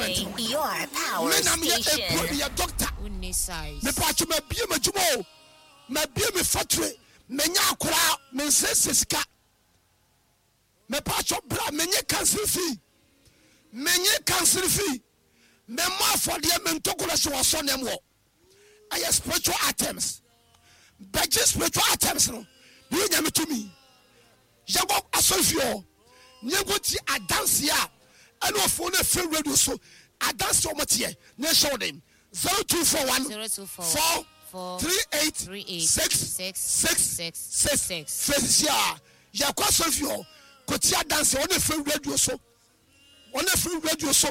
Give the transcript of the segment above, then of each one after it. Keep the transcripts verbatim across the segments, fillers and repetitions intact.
appointment no. Your power Me na meyɛ station. eburo, meyɛ doctor. Wonni size. Mepatwo, mabie m'adwuma o, mabie me factory, menya akoraa, mensɛsɛ sika. Mepatwo, bra, menye council fee, menye council fee, memmɔ afɔdeɛ, mentokoro hyɛ wɔ asɔnɛm wɔ. Ɛyɛ spiritual items. Bɛgye spiritual items no ne yɛ Nyame tumi. Yɛnkɔ asɔre fie hɔ ne yɛnkɔ tie adanseɛ a ɛne ɔfoɔ no afiri radio so, adanseɛ a ɔmɔteɛ ne ɛhyɛ wo den. Zero two four one Zero two four four four three eight three eight six six six six six six. Fɛsisi a yɛkɔ asɔre fie hɔ kɔtie adanseɛ ɔne afiri radio so, ɔne afiri radio so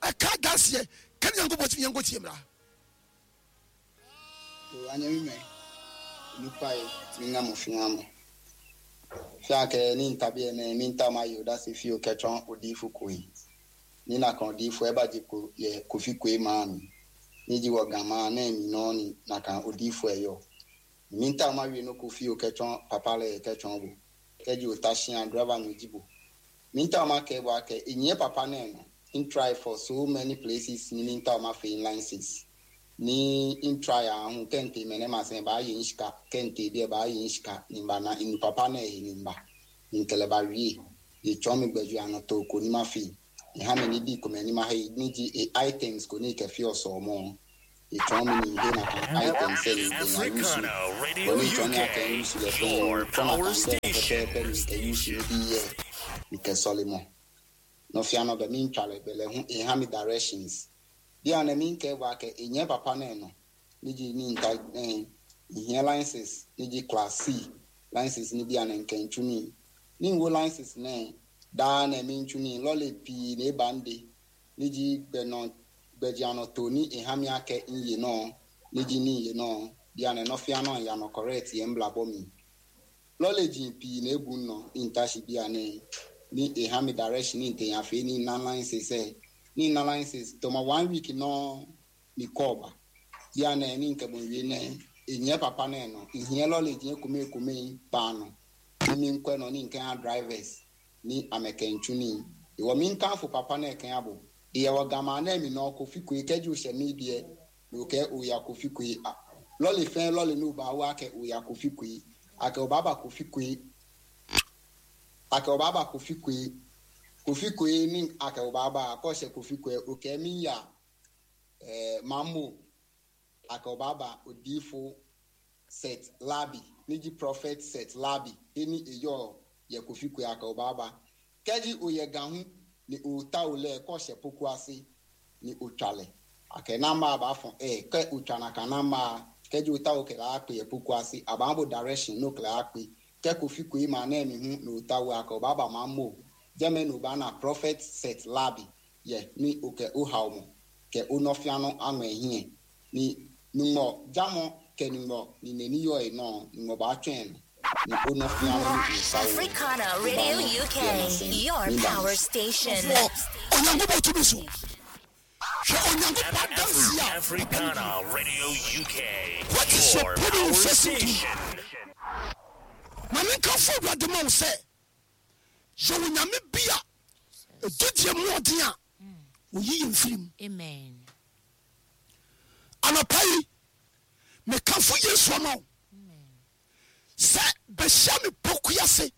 ɛka adanseɛ kane Nyankopɔn tumi. Yɛnkɔ tie mmra. Anyame mɛ nipa ye mi ŋa mo fia mo fia kɛ ni ntabi yɛ mɛ mi nta ma yi o da se fi o kɛ tsɔn odiifo koe ni na kan odiifo ɛba dzi ko yɛ Kofi Koe maa mi ni dzi wɔ gama ne mi nɔ ni na kan odiifo ɛyɔ mi nta ma wi no Kofi o kɛ tsɔn papa lɛ kɛ tsɔn bo kɛ dzi o ta sia driver mi dzi bo mi nta ma kɛ bɔ akɛ enye papa ne no n try for so many places ni mi nta ma fe licenses ni n try ahun kente mɛ ne ma sɛn ba yi n sika kente bi ba yi n sika ni ba na inu papa na yi ni ba nkele ba wie etsɔ mi gbɛdzu anɔ ko ni ma fi ìhà mi ni di kò mɛ ni ma he ni di e items ko ni kɛfi ɔsɔ mɔ etsɔ mi ni he na kan items ɛ ni enya yusu Africana Radio bɔn ni etsɔ ni akɛ U K, yusu lɛ fɛn your tsɔ na power kan bɛ station. pɛpɛɛpɛ ni kɛ yusu ni bi yɛ ni kɛ sɔli mɔ nɔfia bɛ mi ntwa lɛ bɛ lɛ hu ìhà mi directions bí a na mi nkɛ bɔ akɛ enye papa na no ni dzi ni nta ɛn ìhìɛ license ni dzi class C license ni bi a na nkɛ ntsu ni ni nwo license nɛ daa na mi ntsu ni lɔle pii na eba ŋde ni dzi gbɛnɔ gbɛdzi anɔ to ni ìhà mi akɛ nye nɔ ni dzi ni nye nɔ bi a na nɔfia nɔ yanɔ correct yɛ ŋbla bɔ mi lɔle dzi pii na ebu nɔ ni ntasi bi a ne ni ìhà mi direction ni ntẹ̀yàfẹ́ ni na license ɛ ni na license tɔmɔ one week nɔ ni kɔɔba bia na ni nkɛbɔ wie nɛ enye papa nɛ nɔ ìhìɛ lɔle dzi kome kome paano ni mi nkɔɛ nɔ ni nkɛ drivers ni amɛkɛntsu ni ìwɔ mi nkanfo papa nɛ kɛ abo ìyɛwɔ gama nɛ mi nɔ Kofi Koe kɛdzi osɛ mi biɛ òkɛ oya Kofi Koe a lɔle fɛn lɔle n'o ba wa kɛ oya Kofi Koe akɛ o ba ba Kofi Koe, akɛ o ba ba Kofi Koe, Kofi Koe ni akɛ o ba ba akɔsɛ Kofi Koe òkɛ mi ya ɛɛ mamo akɛ o ba ba odiifo Set Labi nídìí Prophet Set Labi eni eyɔ yɛ Kofi Koe akɛ o ba ba kɛdzi oyɛ gahu ni o ta o lɛ kɔsɛ poku ase ni o tsa lɛ akɛ namba ba fɔ ɛ kɛ o tsa na ka namba kɛdzi o ta o kɛ la akpe yɛ poku ase aba bo direction n'o kɛ la akpe kɛ Kofi Koe ma nɛ mi hu n'o ta o akɛ o ba ba ma mo jɛmɛ n'o ba na Prophet Set Labi yɛ ni o kɛ o ha o mɔ kɛ o nɔfia nɔ aŋɔ hiɛ ni nuŋɔ dzamɔ kɛ nuŋɔ ni neni yɔ yi nɔ nuŋɔ ba tsɔe nɔ ni o nɔfia nɔ ni o sa o Africana Radio U K, your power station. Wɔ Onyankopɔn tumi so, hwɛ Onyankopɔn adanseɛ a Africana Radio U K, What is your your problem power facing to? station. Ma menkamfo Awurade ma wo sɛ yɛwɔ Nyame bi a ɛdodie mu ɔden a oyi yɛ mfiri mu. Amen. Anɔpa yi mekamfo Yesu ama wo sɛ bɛhyia me Pokuase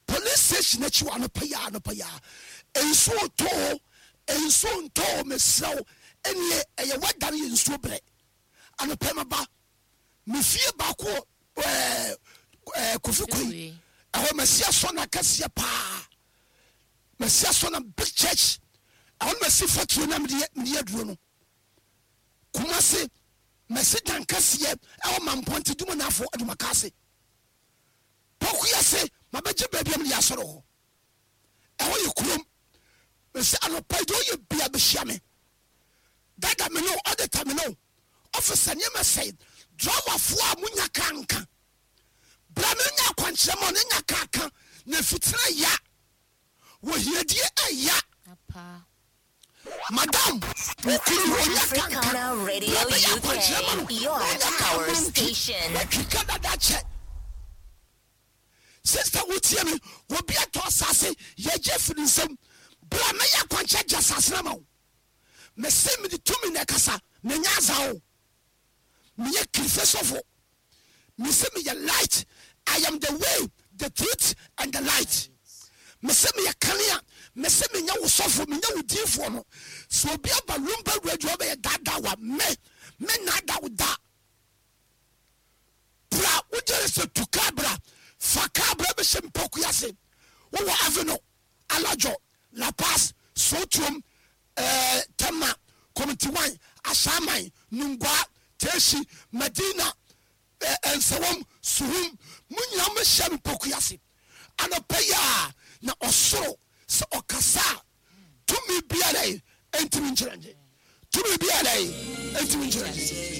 police station akyi wɔ anɔpa yi a, anɔpa yi a nsuo tɔɔ, nsuo ntɔɔ, mesrɛ wo, ɛneɛ ɛyɛ wada no yɛ nsuo berɛ. Anɔpa yi maba me fie baako wɔ ɛɛ ɛɛ Kofi Koe. Koe. Ɛhɔ masi asɔ na kɛseɛ paa, masi asɔ na big church ɛhɔ no, masi factory na mede yɛ- mede yɛ aduro no. Kumase masi dan kɛseɛ ɛwɔ Mampɔnte dum naafo adumaka ase. Pokuase mabɛgye baabi a mede yɛ asɔre hɔ, ɛhɔ yɛ kurom. Mesi anɔpa yi deɛ ɔyɛ bia bɛhyia me dada me no ɔdeta me no ɔfisa nneɛma sɛe driverfoɔ a monya kaa nka bra me nya akwankyerɛ ma ɔne nya kaa ka na fitena ya wɔ hiadie ɛya. Apa. Madam, wokuru onya kanka. Africana Radio Bra bɛyɛ akwankyerɛ ma no. U K, your Wonya kaa power ma ntwi. station. Watwi ka dada kyɛ. Sister, wotie me, obi atɔ asase yɛgye firi nsɛm, bra mɛyɛ akwankyerɛ gye asase no ma wo. Mese mede tumi na ɛkasa. Menyɛ aza o, meyɛ kirife sɔfo. Mese meyɛ light. I am the way, the truth and the light. Mese meyɛ kanea. Mese menyɛ wo sɔfo, menyɛ wo diifoɔ no. Sɛ obi aba Lumba Radio bɛyɛ daadaa wa, me me naada wo da. Bra, wogyere sɛ tu kaa bra, fa kaa bra bɛhyɛ mpɔkua ase. Wowɔ Aveno, Alajo, La Paz, Sotuom, ɛɛ Tema Community One, Ahyɛaman, Nungua, Teshie, Madina, ɛɛ Nsawam, Suhum, mo nyinaa mo hyɛ mpɔkua ase anɔpɛ yi a, na ɔsoro sɛ ɔkasa a, tumi biara yi ntumi nkyerɛ ngye, tumi biara yi ntumi nkyerɛ ngye.